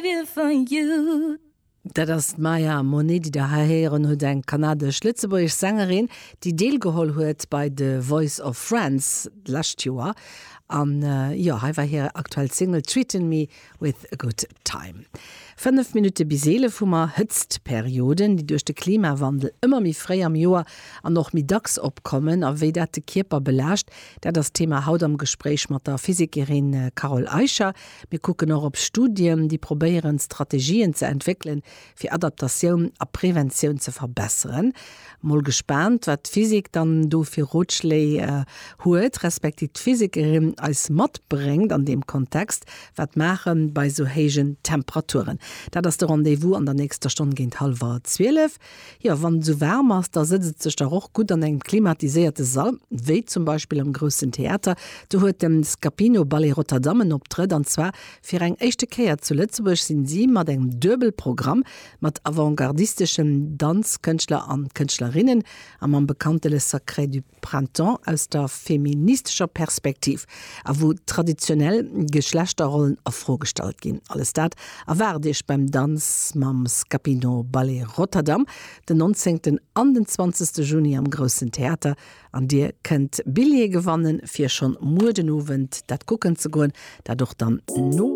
For you. Dat ass d'Maya Monet, déi der hei héieren hutt, eng kanadesch-lëtzebuergesch Sängerin, déi deelgeholl huet bei The Voice of France d'lescht Joer. An jo, hei war hir aktuell Single Treatin' Me With A Good Time. 5 Minutte bis 11 hu mer Hëtztperioden, déi duerch de Klimawandel ëmmer méi fréi am Joer an och méi dacks opkommen. A wéi dat de Kierper belaascht, dat ass d'Thema haut am Gespréich mat der Physikerin Carole Eicher. Mir kucken och op Studien, déi probéieren, Strategien ze entwéckelen, fir Adaptatioun a Preventioun ze verbesseren. Mol gespaant, wat d'Physik dann do fir Rotschléi huet, respektiv d'Physikerin eis matbréngt an deem Kontext. Wat maache bei esou héijen Temperaturen? Dat ass de Rendez-vous an der nächster Stonn géint hallwer 12. Jo, wann et esou waarm ass, da sëtzt et sech dach och gutt an engem klimatiséierte Sall, wéi zum Beispill am Groussen Theater. Do huet de Scapino Ballet Rotterdam en Optrëtt, an zwar fir eng éischte Kéier zu Lëtzebuerg sinn si mat engem Duebelprogramm mat avantgardisteschen Danzkënschtler an Kënschtlerinnen a mam bekannte Le Sacré du Printemps aus der feministescher Perspektiv a wou traditionell Geschlechterrollen a Fro gestallt ginn. Alles dat erwaart Iech beim Danz mam Scapino Ballet Rotterdam den 19. an den 20. Juni am Groussen Theater an Dir kënnt Billjeeë gewannen fir schonn muer den Owend dat kucken ze goen, dat och dann no.